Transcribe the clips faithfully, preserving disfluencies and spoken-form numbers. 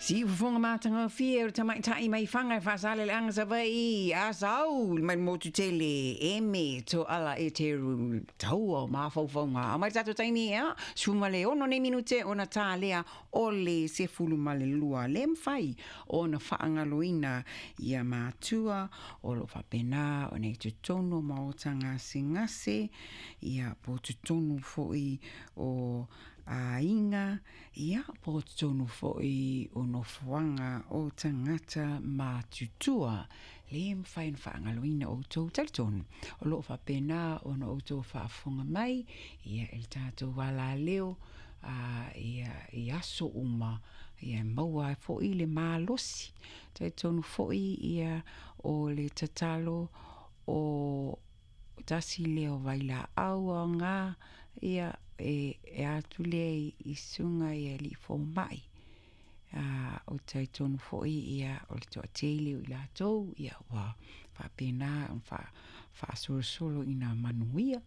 Siufofoga matagofie o le tamaitai mai Faga e Faasaleleaga Savaii a sau mai le motu tele Eme Toala Eteru taua o mafaufauga ao mai le tatou taimi ia suma le ono nei minute ona talea o le sefulu ma le lua le mafai ona faagaloina ia matua o loo faapena ona i totonu o maota gasegase ia po o totonu foi o aiga ia po o totonu foi o nofoaga o tagata matutua. Le mafai ona faagaloina outou, talitonu o loo faapena ona outou faafofoga mai ia i le tatou alaleo a ia i aso uma ia maua ai foi le malosi. Talitonu foi ia o le tatalo o tasi lea o vailaau aoga ia e, e atu lea i suga i alii fomai a o talitonu foi ia o le toatele o i latou ia ua faapena ona faa, faasolosolo ina manuia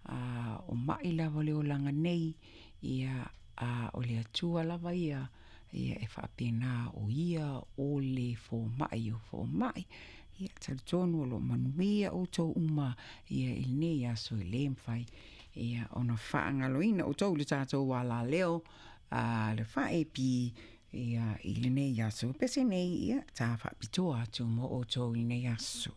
a o mai lava o le olaga nei ia a o le Atua lava ia ia e faapena o ia o le fomai o fomai. Ia talitonu o loo manuia outou uma ia i lenei aso e le mafai ia ona faagaloina outou i le tatou alaleo a le faa-A P ia i lenei aso pese nei ia ta faapitoa atu mo outou i lenei aso.